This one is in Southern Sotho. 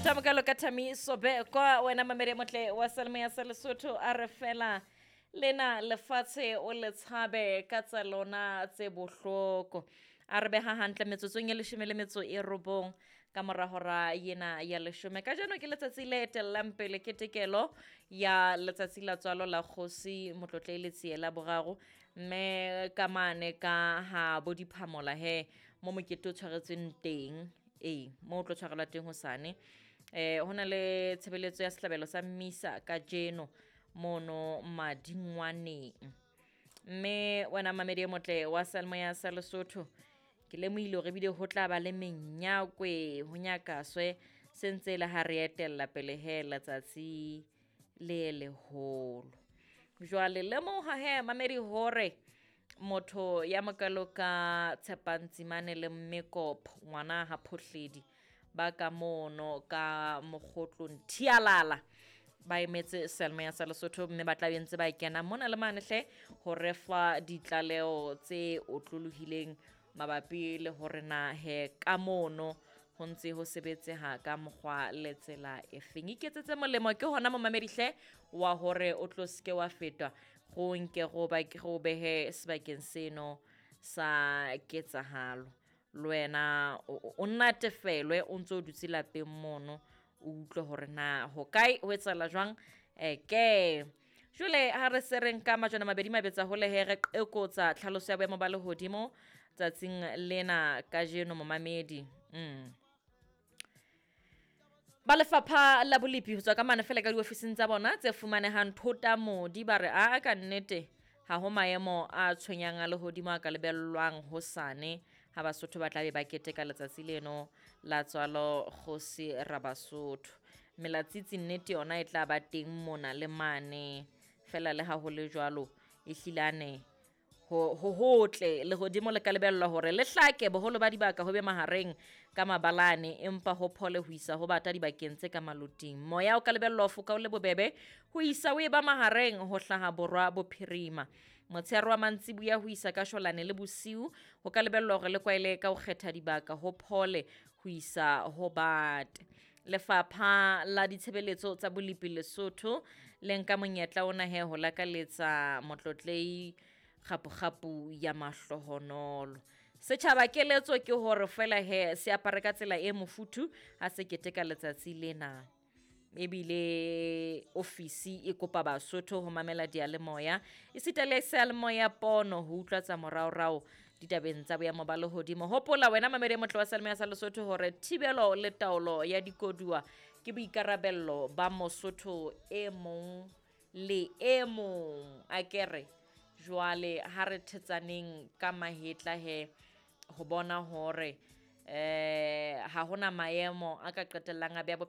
Motho a mokalo ka Thami Sobekwa, wena mamedi motle wa Salme ya sa Lesotho, a re fela lena lefatshe o le tshabe ka tsa lona tse bohloko. A re beha hantle metsotsong e 19 ka mora hora yena ya 10. Kajeno ke letsatsi le etellang pele ketekelo ya letsatsi la tswalo la kgosi Motlotlei Letsie la boraro, mme ka mane ka ha bo diphamola he mo mokete o tshwaretsweng teng, ee mo o tlo tshwarelwa teng hosane. Ho na le tshebeletso ya sehlabelo sa mmisa kajeno mono Madingwaneng. Mme wena mamedi e motle wa Salmo ya sa Lesotho, ke lemohile hore ebile ho tla ba le menyakwe ho nyakaswe se ntse le ha re etella pele he letsatsi le leholo. Jwale lemoha he mamedi hore motho ya mokalo ka Tshepang Tsimane le Mmekopho ngwana ha Phohledi ba ka mono ka mokgotlong Thialala ba emetse Selma ya sa Lesotho, mme ba tla be ntse ba kena mona le mane hle ho re fa ditlaleho tse otlolohileng mabapi le hore na he ka mono ho ntse ho sebetseha ka mokgwa le tsela efeng. Iketsetse molemo ke hona momamedi hle wa hore o tlo seke wa fetwa go nke go ba go behe sebakeng seno sa ketsahalo. Le wena o natefelwe o ntso o dutse lapeng mono, o utlwe hore na ho kae ho etsahala jwang. Ke jwale ha re se re nka majwana mabedi mabetsa hole he re qekotsa tlhaloso ya boemo ba lehodimo tsatsing lena kajeno momamedi. Ba lefapha la bolepi ho tswa ka mane fela ka diofising tsa bona tse fumanehang Thota Modi ba re a ka nnete ha ho maemo a tshwenyang a lehodimo a ka lebellwang hosane ha Basotho ba tla be ba keteka letsatsi leno la tswalo kgosi Rabasotho. Melatsitsi nnete yona e tla ba teng mona le mane fela le ha ho le jwalo e hlilane ho hotle lehodimo le ka lebellwa hore le hlake boholo ba dibaka ho be mahareng ka mabalane, empa ho phole ho isa ho bata dibakeng tse ka maloting. Moya o ka lebellwa ho foka o le bobebe ho isa o e ba mahareng ho hlaha borwa bophirima. Motshehare wa mantsiboya ho isa ka shwalane le bosiu ho ka lebellwa hore le kwaele ka ho kgetha dibaka ho phole ho isa ho bate. Lefapha la ditshebeletso tsa bolepi Lesotho le nka monyetla ona he ho lakaletsa Motlotlei kgapu-kgapu ya mahlohonolo. Setjhaba keletso ke hore fela he se apare ka tsela e mofuthu ha se keteka letsatsi lena. Ebile ofisi e kopa Basotho ho mamela diyalemoya esita le seyalemoya pono ho utlwa tsa moraorao ditabeng tsa boemo ba lehodimo. Hopola wena mamedi e motle wa Salme ya sa Lesotho hore thibelo le taolo ya dikoduwa ke boikarabello ba Mosotho e mong le e mong. Akere jwale ha re thetsaneng ka mahetla he ho bona hore ha hona maemo a ka qetellang a beha.